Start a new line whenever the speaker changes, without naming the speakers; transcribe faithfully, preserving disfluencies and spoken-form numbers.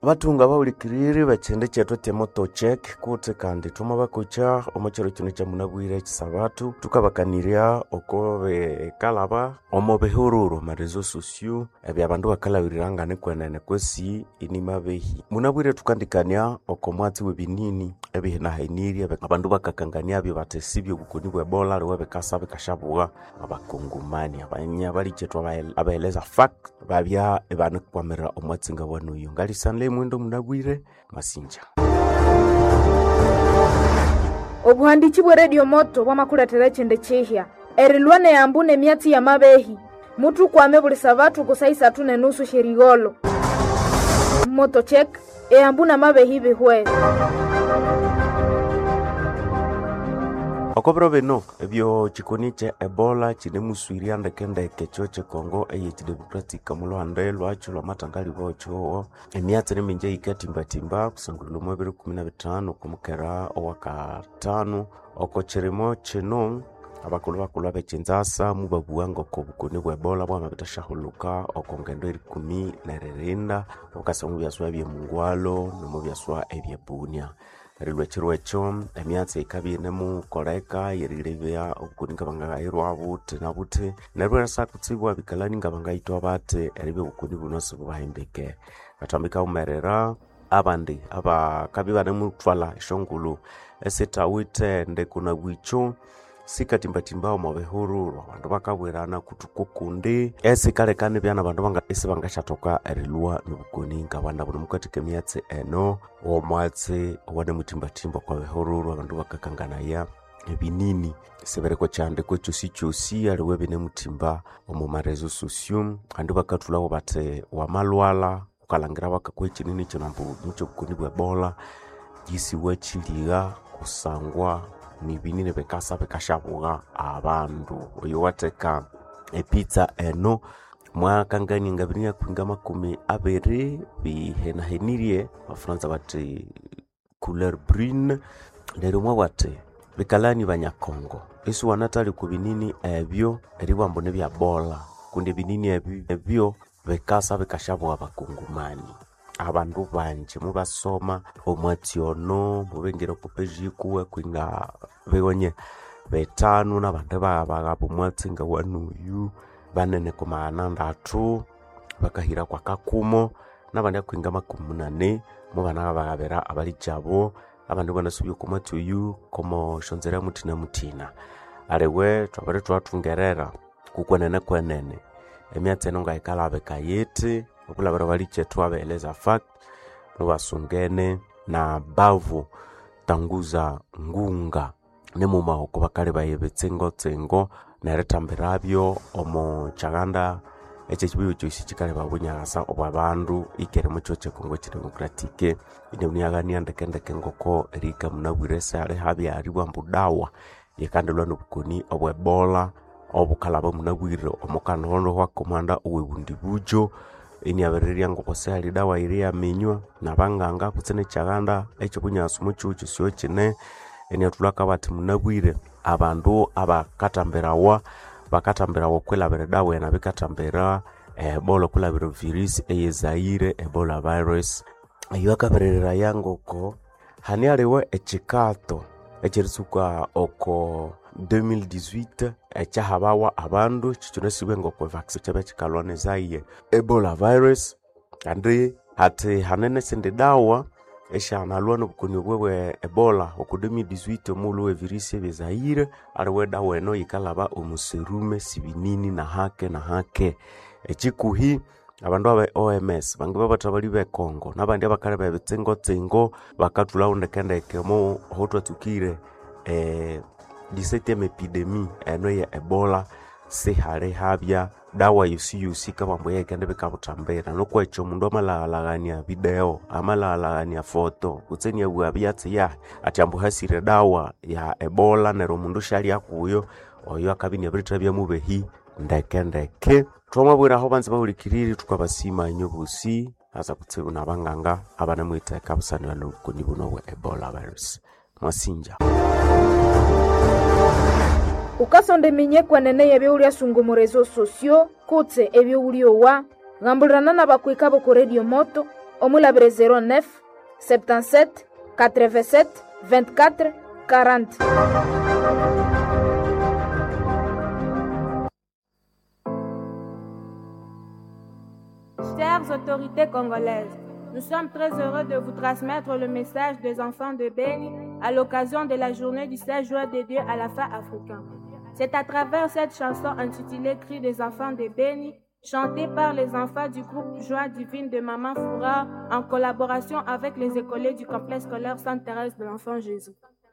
Bathunga bahulikiriri b'ekyindi kyethu ekyemotocheck kutse kandi thwamabakocha omo kyiro kino kyamunabwire ekisabatu thukabakanirya oko bikalaba omo bihururu omo réseaux sociaux ebya bandu bakalhabiriranga nikwenene kwesi inimabehi. Munabwire thukandikania oko mwatsi w'ebinini ebihinahinirye abandu bakakanganiabyo bathi sibyo obukoni bwe Ebola aliwe bikasa bikashabugha abakongomani abanyabalikyetu abaheleza fact babya ibanikwamirira omwatsi ngawanoyo. Ngalisanle mwendo munabwire masinja.
Obuhandichi bwe Radio Moto bwamakuleetera ekyindi kihya erilwa neyambu nemyatsi y'amabehi mutukwame buli sabatu ku saa isathu nenusu syerigholho. Moto Check eyambu namabehi bihwere.
Oko biro bino ebyo kikoni kye Ebola kinemuswirya ndekendeke ekyo kyekongo eyekidemocratic omulhuhande lwakyo lwamathangalibwa kyowo emyatsi nimingi eyikatimbatimba kusangulila omo biro ikumi na bithanu okwamukera owakathanu oko kirimo kino abakulhu bakulhu abekinzasa mubabugha ngoko obukoni bwe Ebola bwamabithasyahulhuka oko ngendo erikumi neririnda bukasa omu byaswa ebyemungwalo nomu byaswa ebyebunia. Erilwa ekiro ekyo emyatsi yikabya inemukoleka yerilebya obukoni ngabangayirwa buthi na buthi neryo erisa kutsibwa abikalani ngabangayithwa bathi eribya obukoni buno sibubahimbike. Bathambika wumerera abandi abakabya ibanemuthwalha esyongulhu esithawithe ndeko na bwikyo sikatimbatimba omo bihururu abandu bakabwirana kuthuku kundi esikaleka nibya nabandu banga isibangasyathoka erilwa nobukoni ngabana buno mukathika emyatsi eno omwatsi owanemuthimbathimba okwa bihururu abandu bakakanganaya ebinini sibiriko kyandiko kyosikyosi aliwe binemuthimba omo ma réseaux sociaux abandu bakathulhawo bathi wamalhwalha wukalhangira bakakuha ekyinini kino ambu nikyobukoni bwe Ebola yisiwakyiliha kusangwa nibinini bikasa bikasyabugha abandu. Oyo watheka epizza eno mwakangania ngabiri akwinga makumi abiri bihenahenirye abafuranza bathi couleur brune neryo mwabugha athi bikalani banyakongo isiwanathalya okwa binini ebyo eribugha ambu nibya Ebola kundi ebinini ebi ebyo bikasa bikasyabugha abakongomani. Abandu bangi mubasoma omwatsi ono mubingira oko page yikuwe kwinga bighonye bithanu nabandi baghabagaba omwatsi ngawanoyu banene ku maghana ndathu bakahira kwa kakumo nabandi akwinga makumi munani mubanaghabaghabira abalikyabo abandi ibanasubya oko mwatsi oyu komo syonzira muthina muthina. Aliwe thwabere thwathungerera kukwenene kwenene emyatsi eno ngayikalhabika yithi okulhabira abalikyethu abaheleza fact mubasungene na bavu tanguza ngunga nimughuma oko bakalebaya ebitsingotsingo nerithambirabyo omo kyaghanda ekyekibuya kyosi kyikaleba obunyakasa obwabandu ikere mukyo kyekongo ekidemocratic inabuniaghania ndekendeke ngoko erihika munabwire sihali habya eribugha ambu dawa yikandilwa nobukoni obwe Ebola obukalhaba munabwire omo kanohondo hwako omuhanda owebundibujo iniabirirya ngoko sihali dawa eyeriyaminywa nabanganga kutse nekyaghanda ekyobunyasi mukyihugho kyosi kine iniathulhako abathi munabwire abandu abakathambirawa bakathambirawa okwilhabira edawa eno abikathambira Ebola okwilhabira virus eye Zaire Ebola virus. Eyo akabiriraya ngoko hane aliwe ekyikato ekyeritsuka oko elfu mbili na ikumi na nayine ekyahabawa abandu ekyo kyinasibwe ngoko vaccine kyabya kyikalhwa ne Zaire Ebola virus kandi hathi hane nesindi dawa esyanalwa nobukoni obwo bwe Ebola oko elfu mbili na ikumi na nayine omughulhu we virus ebye Zaire aliwe edawa eno yikalhaba omu serume sibinini nahake nahake. Ekyikuhi abandu abe O M S bangi babathabali bekongo nabandi abakaleba ebitsingotsingo bakathulhawo ndekendeke omo aho thwatsukire eh, dix-septième epidemie eno eye Ebola sihali habya dawa yosiyosi kabambu eyikendibika buthambira nuku ekyo omundu amalhaghalhaghania video amalhaghalhaghania foto kutse iniabugha byatsi yahi athi ambu hasire edawa ya Ebola neryo omundu syalya kuyo oyo akabya iniabirithabya mubehi ndekendeke. Thwamabwira aho banza bahulikiriri thukabasima inywe bosi asa kutsibu nabanganga abanamwitheka busanira nobukoni buno bwe Ebola virus. Mwasinja.
Ukasonda eminye kwenene y'ebyowulya omu réseaux sociaux kutse ebyowulyowa ghambulirana n'abakwika b'oku Radio Moto Omulabire zéro neuf septante-sept quatre-vingt-sept vingt-quatre quarante.
Chères autorités congolaises, nous sommes très heureux de vous transmettre le message des enfants de Beni à l'occasion de la journée du seize juin dédiée à la fin africain. C'est à travers cette chanson intitulée Cri des enfants de Beni, chantée par les enfants du groupe Joie divine de Maman Foura en collaboration avec les écoliers du complexe scolaire Sainte-Thérèse de l'Enfant Jésus.